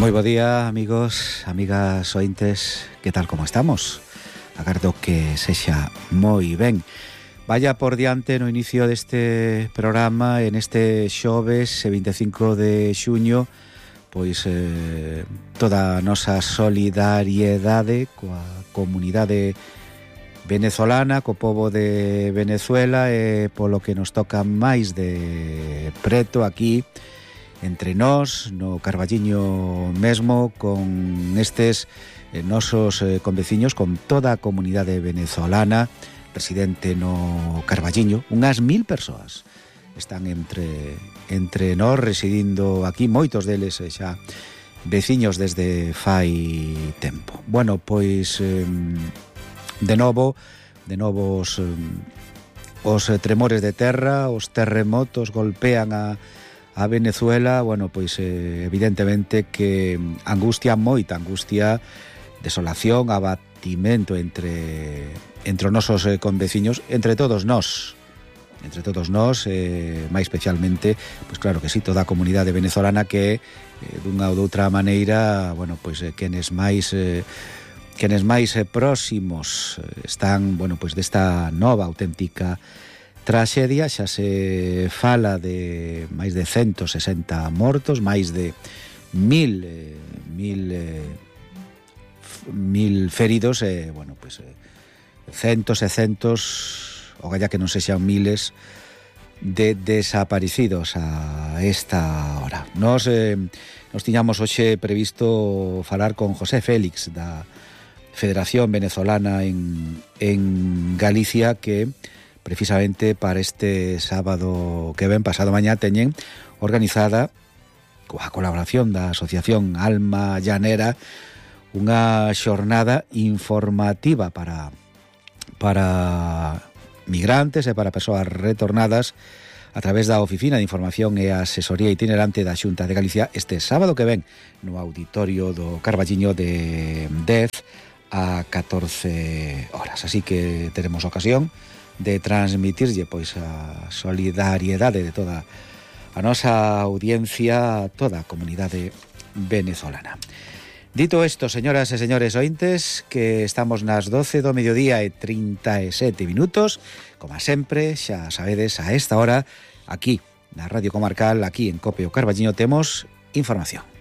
Moi bo día, amigos, amigas ointes, que tal como estamos? Agardo que sexa moi ben. Vaya por diante no inicio deste programa, en este xoves 25 de xuño, pois toda a nosa solidariedade coa comunidade venezolana, co pobo de Venezuela, e polo que nos toca máis de preto aquí entre nós, no Carballiño mesmo, con estes nosos conveciños, con toda a comunidade venezolana residente no Carballiño. Unhas 1000 persoas están entre nós residindo aquí, moitos deles xa veciños desde fai tempo. Bueno, pois de novo os tremores de terra, os terremotos golpean a Venezuela. Bueno, pois evidentemente que moita angustia, desolación, abatimento entre os nosos conveciños, entre todos nós, máis especialmente, pois claro que sí, toda a comunidade venezolana que dunha ou doutra maneira, bueno, pois quenes máis próximos están, bueno, pois desta nova auténtica traxedia. Xa se fala de máis de 160 mortos, máis de 1000 feridos, bueno, pois centos e centos, o galla que non sexan miles, de desaparecidos a esta hora. Nos tiñamos hoxe previsto falar con José Félix da Federación Venezolana en Galicia, que precisamente para este sábado que ven, pasado mañá, teñen organizada, coa colaboración da Asociación Alma Llanera, unha xornada informativa para migrantes e para persoas retornadas a través da Oficina de Información e Asesoría Itinerante da Xunta de Galicia este sábado que ven no auditorio do Carballiño de 10 a 14 horas. Así que teremos ocasión de transmitirlle pois a solidariedade de toda a nosa audiencia, a toda a comunidade venezolana. Dito isto, señoras e señores ointes, que estamos nas 12 do mediodía e 37 minutos, como sempre, xa sabedes, a esta hora, aquí, na Radio Comarcal, aquí en COPE o Carballiño, temos información.